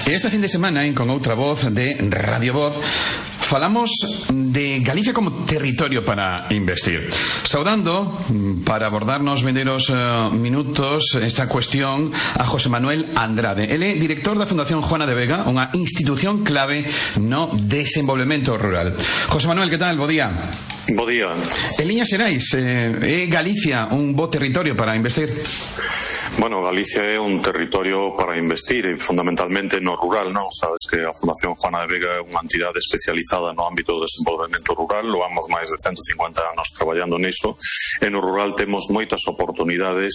Este fin de semana, Con Outra Voz de Radio Voz, falamos de Galicia como territorio para investir. Saudando, para abordar nos vindeiros minutos esta cuestión, a José Manuel Andrade. Ele é director da Fundación Juana de Vega, unha institución clave no desenvolvemento rural. José Manuel, que tal? Bo día. Bo día. En liñas xerais, é Galicia un bo territorio para investir? Bueno, Galicia é un territorio para investir, fundamentalmente no rural, non? Sabes que a Fundación Juana de Vega é unha entidade especializada no ámbito do desenvolvemento rural, loamos máis de 150 anos traballando niso, e no rural temos moitas oportunidades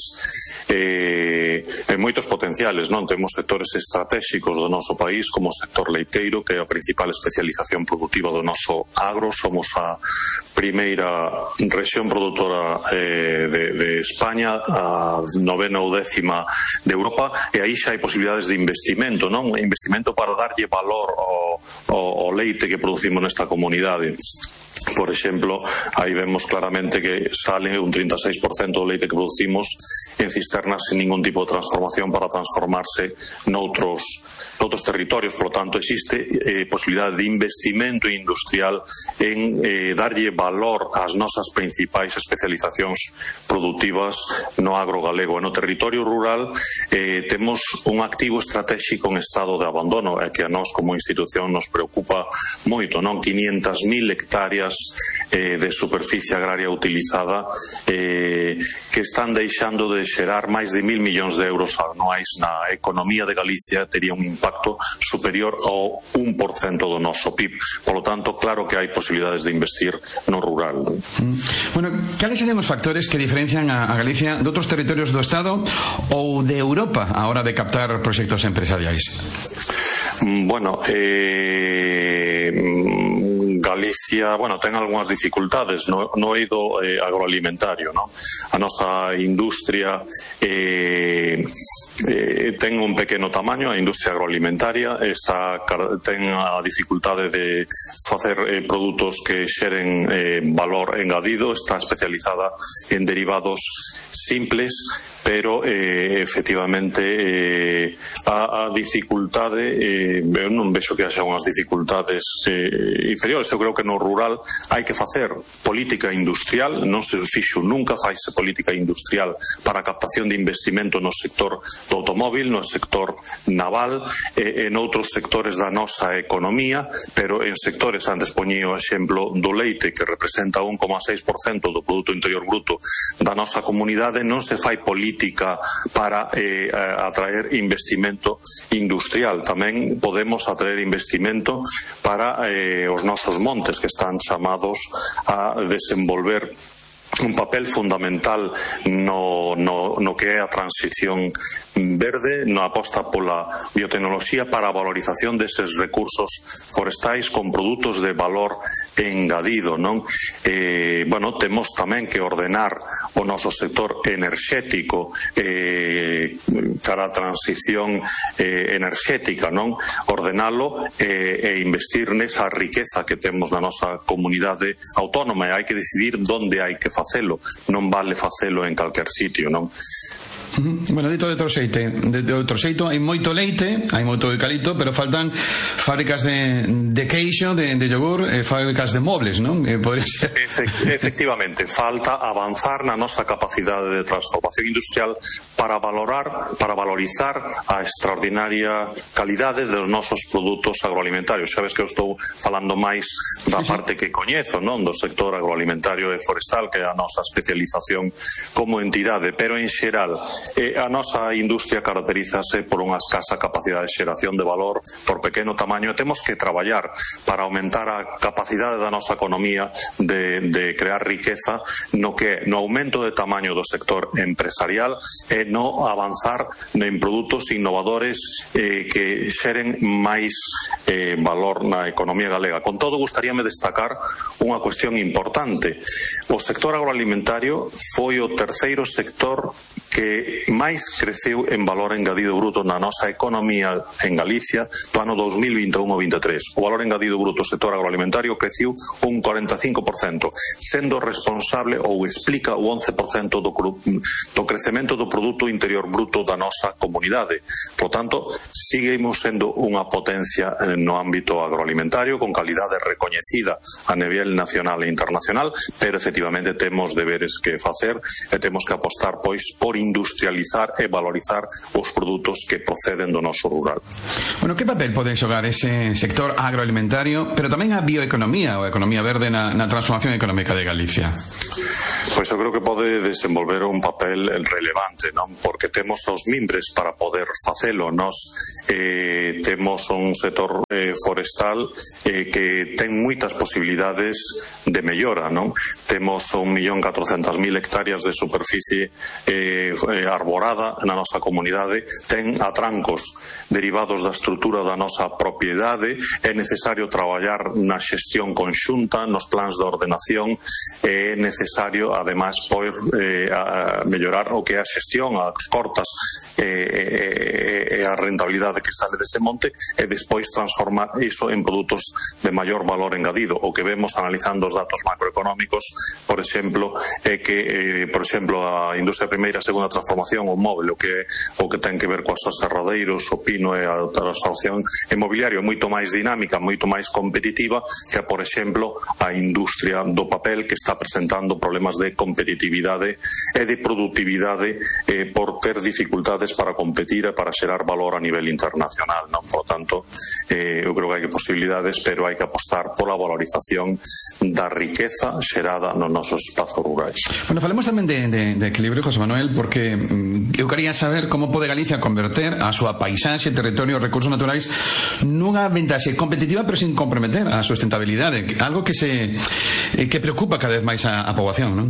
e moitos potenciales, non? Temos sectores estratégicos do noso país, como o sector leiteiro, que é a principal especialización productiva do noso agro. Somos a primeira rexión produtora de España, a novena ou décima de Europa, e aí xa hai posibilidades de investimento, non? Investimento para darlle valor ao leite que producimos nesta comunidade. Por exemplo, aí vemos claramente que sale un 36% do leite que producimos en cisternas sin ningún tipo de transformación para transformarse noutros territorios. Por lo tanto, existe posibilidade de investimento industrial en darlle valor ás nosas principais especializacións productivas no agro galego. E no territorio rural temos un activo estratégico en estado de abandono, e que a nós como institución nos preocupa moito, non? 500.000 hectáreas de superficie agraria utilizada que están deixando de xerar máis de 1.000 millóns de euros anuais na economía de Galicia. Tería un impacto superior ao 1% do noso PIB. Por lo tanto, claro que hai posibilidades de investir no rural. Bueno, cales serían os factores que diferencian a Galicia de outros territorios do Estado ou de Europa a hora de captar proxectos empresariais? Bueno, Galicia, ten algunhas dificultades no eido agroalimentario, non? A nosa industria ten un pequeno tamaño, a industria agroalimentaria ten a dificultade de facer produtos que xeren valor engadido, está especializada en derivados simples, pero efectivamente a dificultade, eu non vexo que haxa unhas dificultades inferiores. Eu creo que no rural hai que facer política industrial, non se fixo nunca, faise política industrial para a captación de investimento no sector do automóvil, no sector naval e en outros sectores da nosa economía, pero en sectores, antes poñía o exemplo do leite, que representa 1,6% do Produto Interior Bruto da nosa comunidade, non se fai política para atraer investimento industrial. Tamén podemos atraer investimento para os nosos montes, que están chamados a desenvolver un papel fundamental no que é a transición verde, na aposta pola biotecnoloxía para a valorización deses recursos forestais con produtos de valor engadido, non? Temos tamén que ordenar o noso sector enerxético cara a transición enerxética, non? Ordenalo e investir nesa riqueza que temos na nosa comunidade autónoma, e hai que decidir onde hai que facelo, non vale facelo en calquer sitio, non? Bueno, dito de outro xeito, hai moito leite, hai moito eucalipto, pero faltan fábricas de queixo, de yogur, fábricas de mobles, non? Podría ser. Efectivamente, falta avanzar na nosa capacidade de transformación industrial para valorizar a extraordinaria calidade dos nosos produtos agroalimentarios. Sabes que eu estou falando máis da parte que coñezo, non? Do sector agroalimentario e forestal, que é a nosa especialización como entidade, pero en xeral a nosa industria caracterízase por unha escasa capacidade de xeración de valor, por pequeno tamaño, e temos que traballar para aumentar a capacidade da nosa economía de crear riqueza no aumento de tamaño do sector empresarial e no avanzar en produtos innovadores que xeren máis valor na economía galega. Con todo, gustaríame destacar unha cuestión importante. O sector agroalimentario foi o terceiro sector que que máis creceu en valor engadido bruto na nosa economía en Galicia do ano 2021-23. O valor engadido bruto do sector agroalimentario creciu un 45%, sendo responsable ou explica o 11% do crecemento do Produto Interior Bruto da nosa comunidade. Por tanto, seguimos sendo unha potencia no ámbito agroalimentario con calidade recoñecida a nivel nacional e internacional, pero efectivamente temos deberes que facer e temos que apostar pois por industrializar e valorizar os produtos que proceden do noso rural. Bueno, que papel pode xogar ese sector agroalimentario, pero tamén a bioeconomía ou a economía verde na transformación económica de Galicia? Pois eu creo que pode desenvolver un papel relevante, non? Porque temos os mimbres para poder facelo. Nos temos un sector forestal que ten moitas posibilidades de mellora, non? Temos 1.400.000 hectáreas de superficie arborada na nosa comunidade, ten atrancos derivados da estrutura da nosa propiedade, é necesario traballar na xestión conxunta, nos plans de ordenación, é necesario ademais poder mellorar o que é a xestión, as cortas e a rentabilidade que sale dese monte e despois transformar iso en produtos de maior valor engadido. O que vemos analizando os datos macroeconómicos, por exemplo, é que por exemplo a industria primeira e segunda transformación, o móvel, o que ten que ver coas aserradeiros, o pino e a transformación inmobiliaria é moito máis dinámica, moito máis competitiva que, por exemplo, a industria do papel, que está presentando problemas de competitividade e de productividade por ter dificultades para competir e para xerar valor a nivel internacional, non? Por tanto, eu creo que hai posibilidades, pero hai que apostar pola valorización da riqueza xerada nos nosos espazos rurais. Bueno, falemos tamén de equilibrio, José Manuel, porque eu quería saber como pode Galicia converter a súa paisaxe, territorio e recursos naturais nunha ventaxe competitiva pero sin comprometer a sustentabilidade, algo que preocupa cada vez máis a poboación, non?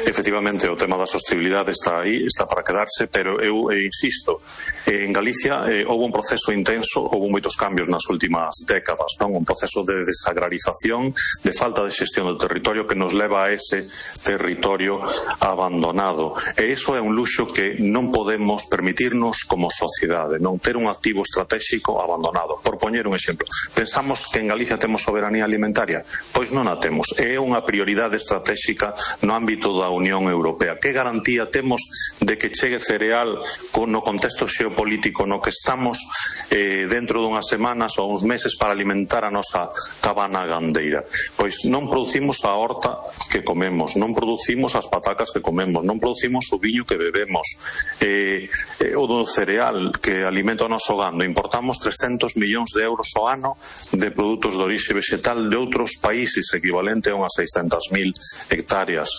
Efectivamente, o tema da sostenibilidade está aí, está para quedarse, pero eu insisto, en Galicia houve un proceso intenso, houve moitos cambios nas últimas décadas, non? Un proceso de desagrarización, de falta de xestión do territorio que nos leva a ese territorio abandonado. E iso é un luxo que non podemos permitirnos como sociedade, non ter un activo estratégico abandonado. Por poñer un exemplo, pensamos que en Galicia temos soberanía alimentaria? Pois non a temos. É unha prioridade estratégica no ámbito da Unión Europea. Que garantía temos de que chegue cereal no contexto xeopolítico no que estamos dentro dunhas semanas ou uns meses para alimentar a nosa cabana gandeira? Pois non producimos a horta que comemos, non producimos as patacas que comemos, non producimos o viño que bebemos, o do cereal que alimenta o noso gando. Importamos 300 millóns de euros ao ano de produtos de orixe vegetal de outros países, equivalente a unhas 600.000 hectáreas.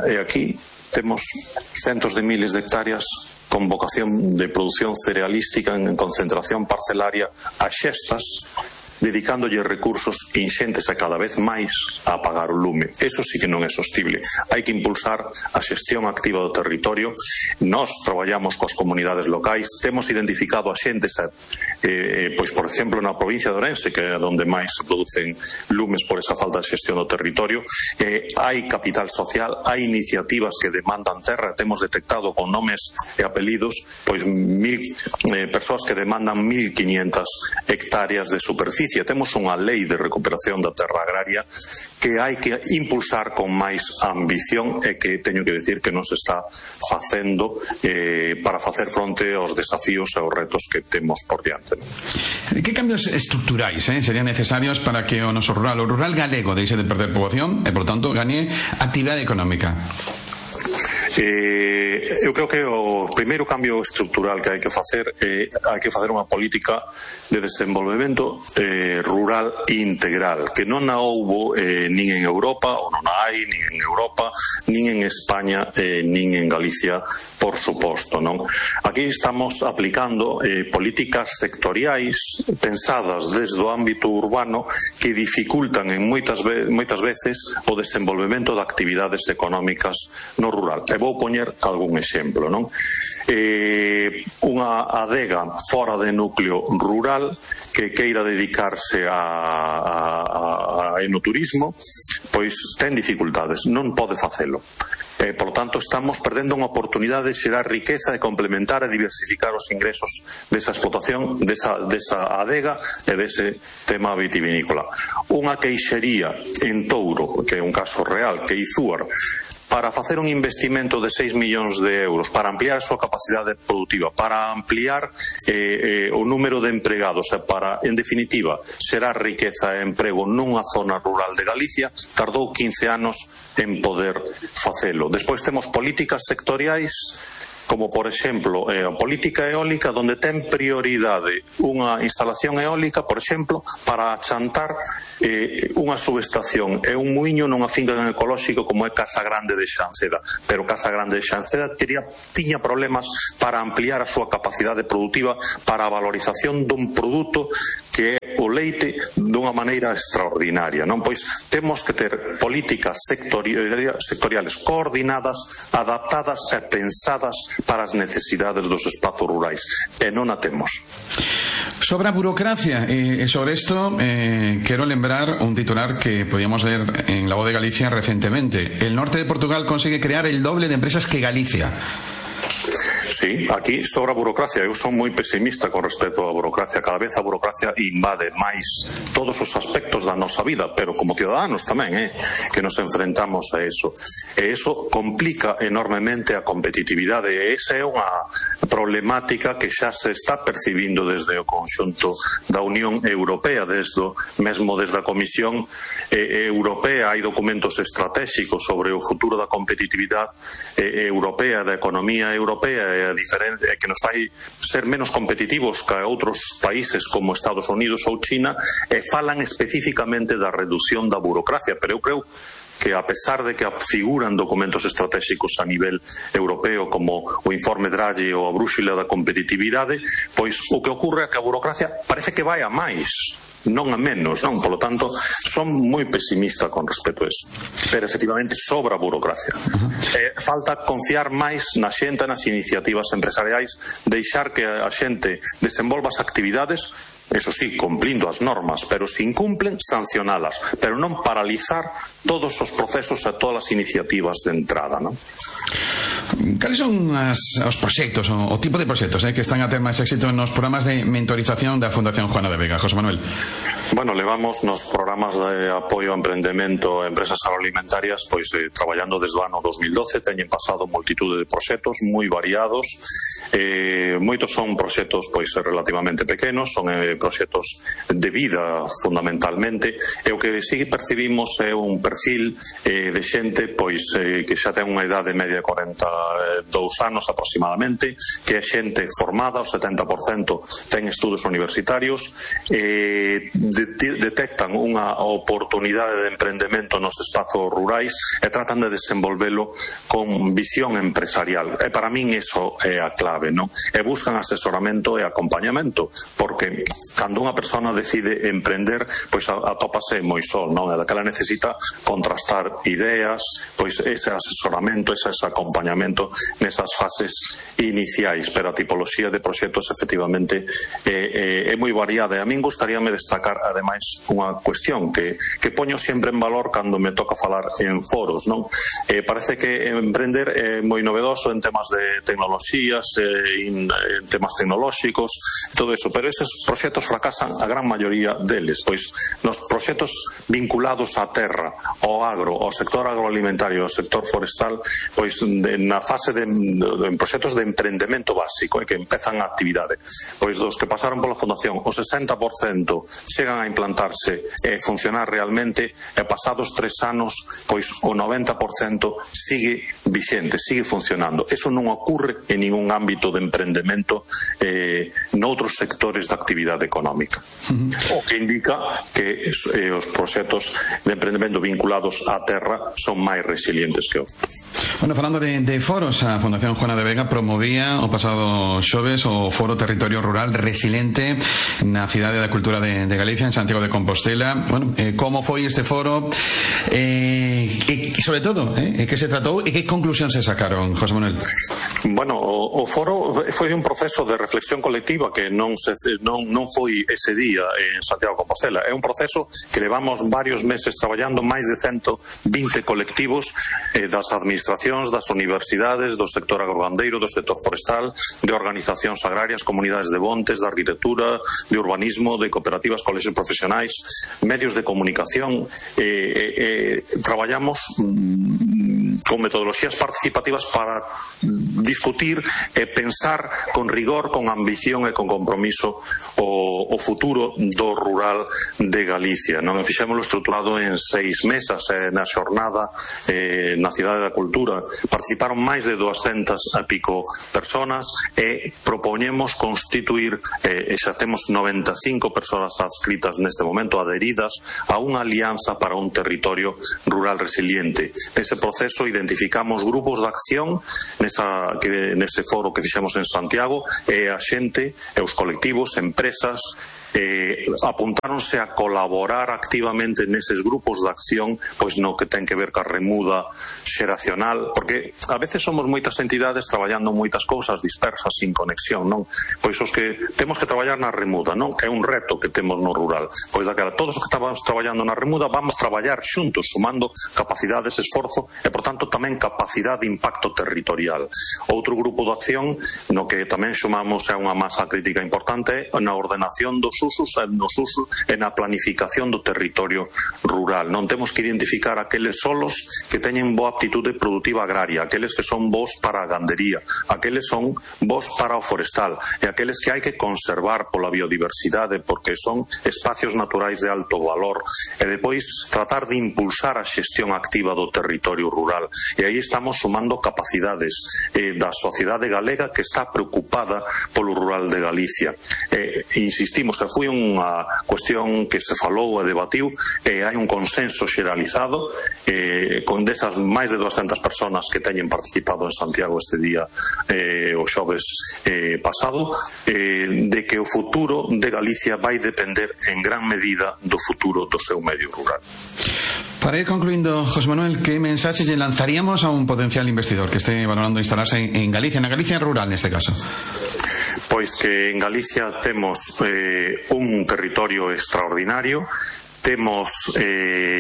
E aquí temos centos de miles de hectáreas con vocación de producción cerealística en concentración parcelaria a xestas, dedicándolle recursos inxentes e cada vez máis a apagar o lume. Eso sí que non é sostible. Hai que impulsar a xestión activa do territorio. Nós traballamos coas comunidades locais, temos identificado a xentes, pois por exemplo na provincia de Ourense, que é onde máis se producen lumes por esa falta de xestión do territorio. Hai capital social, hai iniciativas que demandan terra, temos detectado con nomes e apelidos pois 1.000 persoas que demandan 1.500 hectáreas de superficie. Temos unha lei de recuperación da terra agraria que hai que impulsar con máis ambición e que teño que decir que non se está facendo para facer fronte aos desafíos e aos retos que temos por diante. Que cambios estruturais serían necesarios para que o noso rural, o rural galego, deixe de perder poboación e, por tanto, gañe actividade económica? Eu creo que o primeiro cambio estrutural que hai que facer unha política de desenvolvemento rural integral, que non a houbo nin en Europa, ou non a hai nin en Europa, nin en España, nin en Galicia, por suposto, non? Aquí estamos aplicando políticas sectoriais pensadas desde o ámbito urbano que dificultan en moitas veces o desenvolvemento de actividades económicas no rural. E vou poñer algún exemplo, non? Unha adega fora de núcleo rural que queira dedicarse a enoturismo, pois ten dificultades, non pode facelo. Por lo tanto, estamos perdendo unha oportunidade de xerar riqueza e complementar e diversificar os ingresos desa explotación, desa adega e dese tema vitivinícola. Unha queixería en Touro, que é un caso real, que Izúar, para facer un investimento de 6 millóns de euros, para ampliar a súa capacidade productiva, para ampliar o número de empregados e para, en definitiva, xerar riqueza e emprego nunha zona rural de Galicia, tardou 15 anos en poder facelo. Despois temos políticas sectoriais, como por exemplo a política eólica, onde ten prioridade unha instalación eólica, por exemplo, para achantar unha subestación e un muiño nunha finca ecolóxico como é Casa Grande de Xanceda. Pero Casa Grande de Xanceda tiña problemas para ampliar a súa capacidade productiva para a valorización dun produto que é o leite dunha maneira extraordinaria, non? Pois temos que ter políticas sectoriales coordinadas, adaptadas e pensadas para as necesidades dos espazos rurais, e non a temos. Sobre a burocracia, e sobre isto quero lembrar un titular que podíamos leer en La Voz de Galicia recentemente. El norte de Portugal consigue crear el doble de empresas que Galicia. Sí, aquí sobra burocracia. Eu son moi pesimista con respecto á burocracia. Cada vez a burocracia invade máis todos os aspectos da nosa vida, pero como ciudadanos tamén, que nos enfrentamos a eso. E eso complica enormemente a competitividade. E esa é unha problemática que xa se está percibindo desde o conxunto da Unión Europea, mesmo desde a Comisión Europea. Hai documentos estratégicos sobre o futuro da competitividade europea, da economía europea, e a diferencia que nos fai ser menos competitivos que outros países como Estados Unidos ou China, e falan especificamente da reducción da burocracia. Pero eu creo que, a pesar de que figuran documentos estratégicos a nivel europeo como o informe Draghi ou a brúxula da competitividade, pois o que ocorre é que a burocracia parece que vai a máis, non a menos, non? Por lo tanto, son moi pesimista con respecto a eso. Pero, efectivamente, sobra burocracia. Falta confiar máis na xente, nas iniciativas empresariais, deixar que a xente desenvolva as actividades, eso sí, cumplindo as normas, pero se incumplen, sancionalas, pero non paralizar todos os procesos e todas as iniciativas de entrada, non? Cales son os proxectos, o tipo de proxectos que están a ter máis éxito nos programas de mentorización da Fundación Juana de Vega? José Manuel. Bueno, levamos nos programas de apoio ao emprendemento a empresas agroalimentarias traballando desde o ano 2012. Teñen pasado multitude de proxectos moi variados, moitos son proxectos relativamente pequenos, son proxectos de vida fundamentalmente, e o que sí percibimos é un perfil de xente que xa ten unha idade media de 42 anos aproximadamente, que é xente formada, o 70% ten estudos universitarios, detectan unha oportunidade de emprendemento nos espazos rurais e tratan de desenvolvelo con visión empresarial. E para min iso é a clave, non? E buscan asesoramento e acompañamento, porque cando unha persona decide emprender, atópase moi só, non? E daquela necesita contrastar ideas, ese asesoramento, ese acompañamento nesas fases iniciais, pero a tipoloxía de proxectos efectivamente é moi variada. E a min gustaríame destacar ademais unha cuestión que poño sempre en valor cando me toca falar en foros, non? Parece que emprender é moi novedoso en temas de tecnoloxías, en temas tecnolóxicos, todo eso, pero eses proxectos fracasan a gran maioría deles, pois nos proxectos vinculados á terra, ao agro, ao sector agroalimentario, ao sector forestal, na fase de proxectos de emprendemento básico, que empezan a actividade, dos que pasaron pola Fundación, o 60% chegan a implantarse e funcionar realmente, e pasados 3 anos, o 90% sigue vixente, sigue funcionando. Eso non ocurre en ningún ámbito de emprendemento noutros sectores da actividade económica. O que indica que os proxectos de emprendemento vinculados á terra son máis resilientes que outros. Bueno, falando de foros. A Fundación Juana de Vega promovía o pasado xoves o Foro Territorio Rural Resiliente na Cidade da Cultura de Galicia, en Santiago de Compostela. Bueno, como foi este foro, e sobre todo, que se tratou e que conclusión se sacaron, José Manuel? Bueno, o foro foi un proceso de reflexión colectiva que non foi ese día en Santiago de Compostela. É un proceso que levamos varios meses traballando, máis de 120 colectivos das administracións, das universidades, do sector agrogandeiro, do sector forestal, de organizacións agrarias, comunidades de montes, de arquitectura, de urbanismo, de cooperativas, colexios profesionais, medios de comunicación. Traballamos con metodoloxías participativas para discutir e pensar con rigor, con ambición e con compromiso o futuro do rural de Galicia. Non fixémoslo estruturado en 6 mesas na xornada na Cidade da Cultura. Participaron máis de 200 e pico personas e propoñemos constituir, e xa temos 95 persoas adscritas neste momento, adheridas a unha alianza para un territorio rural resiliente. Nese proceso identificamos grupos de acción nese foro que fixemos en Santiago, e a xente, e os colectivos, empresas, apuntáronse a colaborar activamente neses grupos de acción, pois no que ten que ver ca remuda xeracional, porque a veces somos moitas entidades traballando moitas cousas dispersas, sin conexión, non? Pois os que temos que traballar na remuda, non? Que é un reto que temos no rural. Pois daquela, todos os que estábamos traballando na remuda vamos traballar xuntos, sumando capacidades, esforzo e, por tanto, tamén capacidade de impacto territorial. Outro grupo de acción no que tamén sumamos a unha masa crítica importante na ordenación dos usos e na planificación do territorio rural. Non temos que identificar aqueles solos que teñen boa aptitude productiva agraria, aqueles que son bons para a gandería, aqueles son bons para o forestal e aqueles que hai que conservar pola biodiversidade porque son espacios naturais de alto valor, e depois tratar de impulsar a xestión activa do territorio rural. E aí estamos sumando capacidades da sociedade galega que está preocupada polo rural de Galicia. Insistimos, foi unha cuestión que se falou e debatiu, e hai un consenso xeralizado con desas máis de 200 personas que teñen participado en Santiago este día, o xoves pasado, de que o futuro de Galicia vai depender en gran medida do futuro do seu medio rural. Para ir concluindo, José Manuel, ¿qué mensaxe lle lanzaríamos a un potencial investidor que esté valorando instalarse en Galicia, na Galicia rural neste caso? Pois que en Galicia temos un territorio extraordinario, temos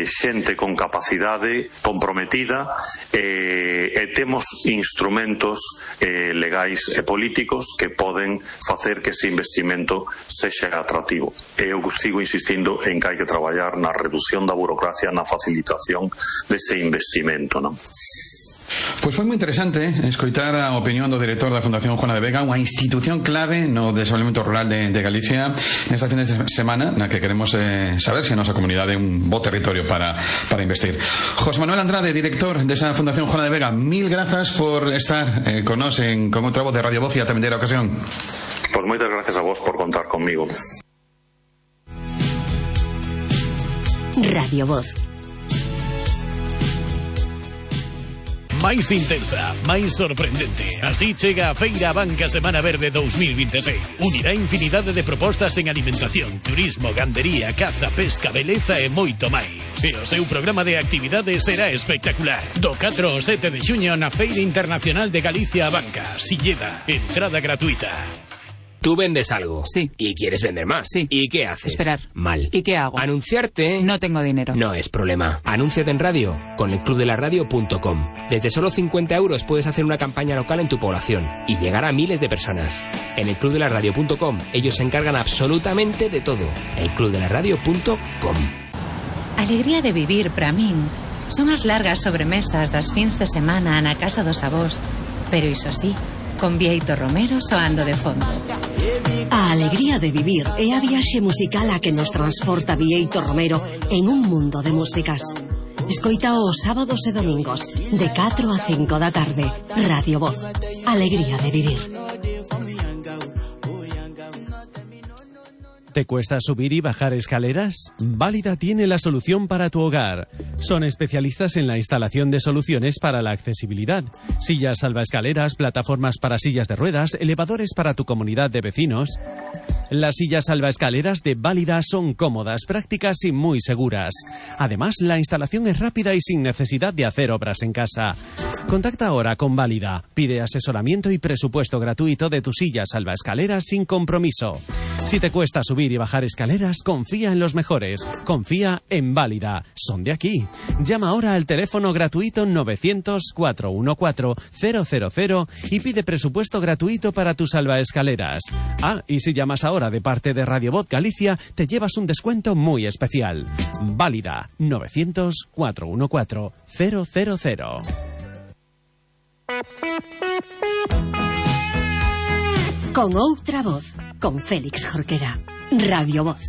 xente con capacidade comprometida, e temos instrumentos legais e políticos que poden facer que ese investimento sexa atractivo. Eu sigo insistindo en que hai que traballar na reducción da burocracia, na facilitación dese investimento, non? Pois foi moi interesante escoitar a opinión do director da Fundación Juana de Vega, unha institución clave no desenvolvemento rural de Galicia, nesta fin de semana na que queremos saber se a nosa comunidade é un bo territorio para investir. José Manuel Andrade, director desa Fundación Juana de Vega, mil grazas por estar con nós con outra voz de Radio Voz e a terceira ocasión. Pois moitas gracias a vos por contar conmigo. Radio Voz. Máis intensa, máis sorprendente. Así chega a Feira Banca Semana Verde 2026. Unirá infinidade de propostas en alimentación, turismo, gandería, caza, pesca, beleza e moito máis. E o seu programa de actividades será espectacular. Do 4 ao 7 de xuño na Feira Internacional de Galicia Banca, Silleda. Entrada gratuita. Tú vendes algo. Sí. Y quieres vender más. Sí. ¿Y qué haces? Esperar. Mal. ¿Y qué hago? Anunciarte. No tengo dinero. No es problema. Anúnciate en radio con elclubdelaradio.com. Desde solo 50 euros puedes hacer una campaña local en tu población y llegar a miles de personas. En elclubdelaradio.com ellos se encargan absolutamente de todo. elclubdelaradio.com. Alegría de vivir para min son as largas sobremesas das fins de semana na casa dos avós, pero iso sí, con Bieito Romero soando de fondo. A alegría de vivir é a viaxe musical a que nos transporta Bieito Romero en un mundo de músicas. Escoita os sábados e domingos de 4 a 5 da tarde. Radio Voz. Alegría de vivir. ¿Te cuesta subir y bajar escaleras? Válida tiene la solución para tu hogar. Son especialistas en la instalación de soluciones para la accesibilidad. Sillas salvaescaleras, plataformas para sillas de ruedas, elevadores para tu comunidad de vecinos. Las sillas salvaescaleras de Válida son cómodas, prácticas y muy seguras. Además, la instalación es rápida y sin necesidad de hacer obras en casa. Contacta ahora con Válida. Pide asesoramiento y presupuesto gratuito de tu silla salvaescaleras sin compromiso. Si te cuesta subir y bajar escaleras, confía en los mejores. Confía en Válida. Son de aquí. Llama ahora al teléfono gratuito 900-414-000 y pide presupuesto gratuito para tus salvaescaleras. Ah, y si llamas ahora de parte de Radio Voz Galicia, te llevas un descuento muy especial. Válida 900-414-000. Con outra voz, con Félix Jorquera. Radio Voz.